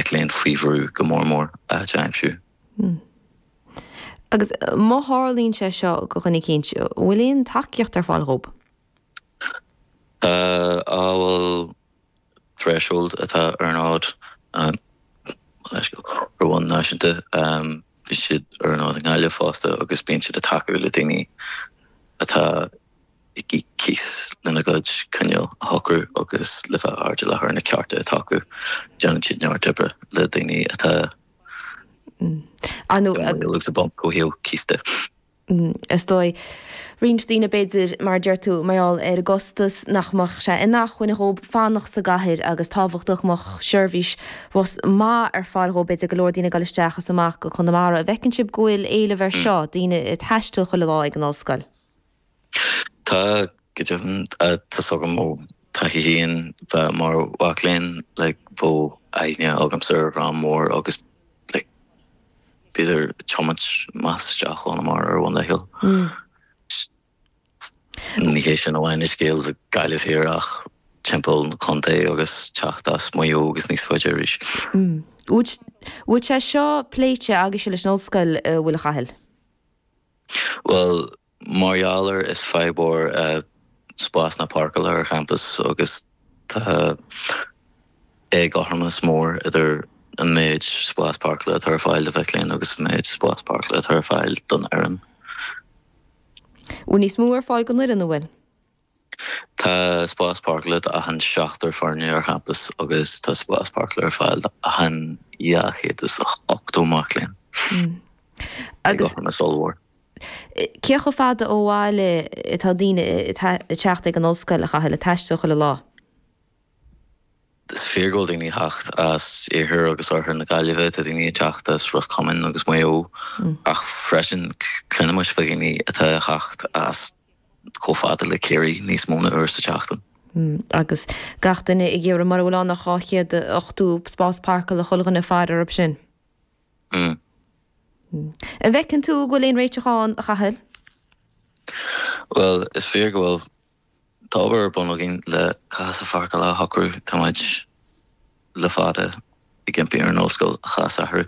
mic léinn faoi bhrú go mór mór áit a aimsiú. Agus má tharlaíonn sé seo do dhuine eicínt, an bhfuil aon tacaíocht ar fáil dhób? Tá, amhail Threshold atá ar an fhód, ar bhonn náisiúnta, bíonn siad ar an fhód i nGaillimh fosta agus bíonn siad ag tacú le daoine atá ag íoc cíos lena gcuid coinníoll a shocrú agus le bheith airdeallach ar na cearta atá acu. Déanann siad neart oibre le daoine atá i mbaol agus i bponc ó thaobh cíos de. Is dóigh, roinnt daoine b'fhéidir, mar a deir tú, mar gheall ar an gcostas, nach mbeadh sé in acmhainn dhób fanacht sa gcathair agus tábhachtach go mbeadh seirbhís bhus maith ar fáil dhób, b'fhéidir go leor daoine ag dul isteach is amach go Conamara. An bhfeiceann sibh go bhfuil éileamh ar seo, daoine ag taisteal chuile lá ag an ollscoil? Tá, go deimhin. Tá's agam ó taithí féin bheith mar mhac léinn, like, bheadh aithne agamsa ar dhream mór agus, like, b'fhéidir ag tiomáint amach is isteach ó Chonamara ar bhonn laethúil. Ní hé sin amháin an scéal i Gaillimh Thiar ach timpeall na contae agus teacht as Maigh Eo agus níos faide arís. Bhfuil sé seo pléite agaibhse leis an ollscoil, an bhfuil a Chathail? Bhuel, Mar gheall ar is fadhb mhór spásanna páirceála ar champas agus tá éagothromas mór idir an méid spás páirceála atá ar fáil do mhic léinn agus an méid spás páirceála atá ar fáil don fhoireann. Bhfuil níos mó ar fáil don fhoireann, an bhfuil? Tá spás páirceála d'achan seachtar foirne ar champas agus tá spás páirceála ar fáil d'achan 280 mac léinn. Éagothromas ollmhór. Cé chomh fada ó bhaile atá daoine ag teacht ag an ollscoil, a Chathail, ag taisteal chuile lá? Is fíor go bhfuil daoine ag teacht as iarthar agus oirthear na Gaillimhe, tá daoine ag teacht as Ros Comáin agus Maigh Eo ach freisin cluinimid fá dhaoine atá ag teacht as chomh fada le Ciarraí níos mó ná uair sa tseachtain. Agus gach duine ag iarraidh, mura bhfuil ann ach 280 spás páirceála chuile dhuine ag faire orthu sin. An bhfeiceann tú go bhfuil aon réiteach ann, a Chathail? Bhuel, is fíor go bhfuil. Tá obair ar bun againn le cás na páirceála a shocrú. Tá muid le fada ag impí ar an ollscoil a chás a athrú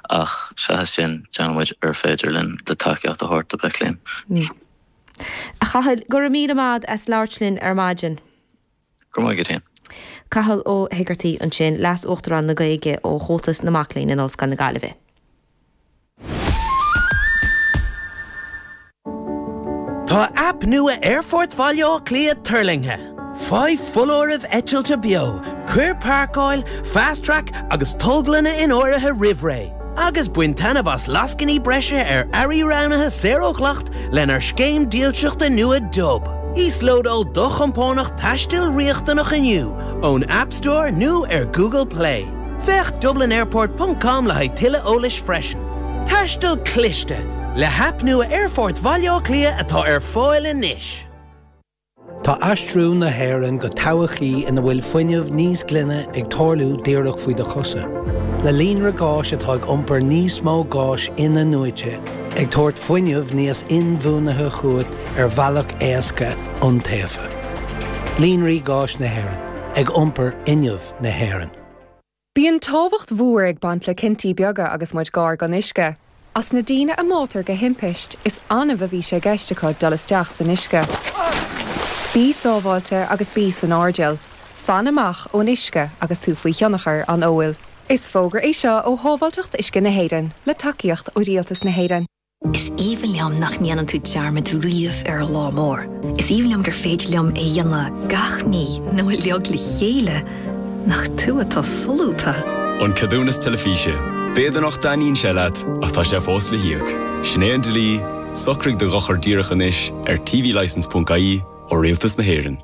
ach seachas sin, déanann muid ar féidir linn le tacaíocht a thabhairt do mhic léinn. A Chathail, go raibh míle maith agat as labhairt linn ar maidin. Go raibh maith agat féin. Cathal Ó hEigeartaigh ansin, Leas-Uachtarán na Gaeilge ó Chomhaltas na Mac Léinn in Ollscoil na Gaillimhe. Tá aip nua Aerfort Bhaile Átha Cliath tuirlingthe! Faigh foláirimh eitilte beo, cuir páirceáil, Fast Track agus tolglanna in áirithe roimh ré, agus bain taitneamh as lascainí breise ar earraí roghnaithe saor ó dhleacht lenár scéim dílseachta nua Dub. Íoslódáil do chompánach taistil riachtanach inniu ón App Store nó ar Google Play. Féach dublinairport ponc com le haghaidh tuilleadh eolais freisin. Taisteal cliste! Le haip nua Aerfort Bhaile Átha Cliath atá ar fáil anois. Tá aistriú na hÉireann go todhchaí ina bhfuil fuinneamh níos glaine ag tarlú díreach faoi do chosa. Le líonra gáis atá ag iompar níos mó gáis in-athnuaite, ag tabhairt fuinneamh níos inbhuanaithe chugat ar bhealach éasca, iontaofa. Líonraí Gáis na hÉireann, ag iompar fhuinneamh na hÉireann. Bíonn tábhacht mhór ag baint le cinntí beaga agus muid gar don uisce. As na daoine a mbáitear de thimpist, is annamh a bhí sé i gceist acu dul isteach san uisce. Bí sábháilte agus bí san airdeall. Fan amach ón uisce agus tú faoi thionchar an óil. Is fógra é seo ó Shábháilteacht Uisce na hÉireann, le tacaíocht ó Rialtas na hÉireann. Is aoibhinn liom nach ndéanann tú dearmad riamh ar lá mór. Is aoibhinn liom gur féidir liom é a dhéanamh gach mí nó uilig le chéile. Nach tú atá solúbtha! An Ceadúnas Teilifíse. B'fhéidir nach dtaitníonn sé leat, ach tá sé fós le híoc. Sin é an dlí, socraigh do dhochar díreach anois ar tvlicence.ie ó Rialtas na hÉireann.